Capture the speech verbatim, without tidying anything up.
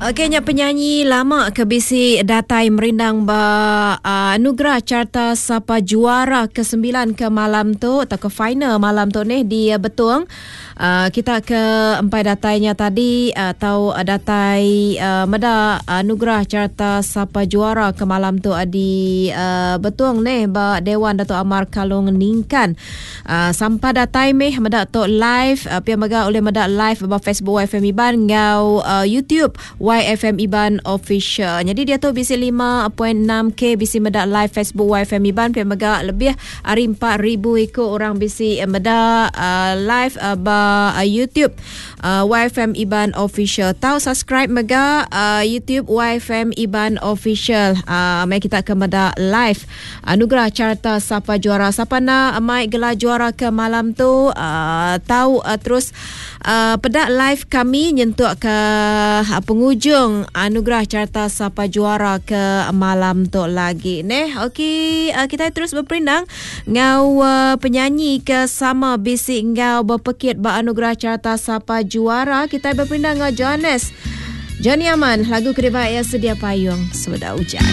Okey nya penyanyi lama ke bisi datai merindang ba uh, Anugerah Carta Sapa Juara ke sembilan ke malam tu atau ke final malam tu nih di uh, Betong. Uh, kita ke empai datainya tadi atau uh, datai uh, meda Anugerah Carta Sapa Juara ke malam tu uh, di uh, Betong nih ba Dewan Dato' Amar Kalong Ningkan. Uh, sampai datai meh meda tu live uh, pia mega oleh meda live ba Facebook Y F M Iban ngau uh, YouTube Y F M Iban Official. Jadi dia tu bisi lima point enam K bisi meda live Facebook Y F M Iban pia mega lebih ari empat ribu ikut orang bisi meda uh, live uh, ba uh, YouTube uh, Y F M Iban Official. Tau subscribe mega uh, YouTube Y F M Iban Official. Uh, mai kita ke meda live Anugerah Carta Sapa Juara. Siapa nak mai gelar juara ke malam tu uh, tau uh, terus uh, pedak live kami nyentuk ke uh, penghujung Anugerah Carta Sapa Juara ke malam tu lagi neh. Okey, uh, kita terus berperindang ngau uh, penyanyi ke sama bisi ngau berpekit ba Anugerah Carta Sapa Juara. Kita berperindang ngau Johannes Johnny Aman, lagu kedebak ya sedia payung sebedah hujan.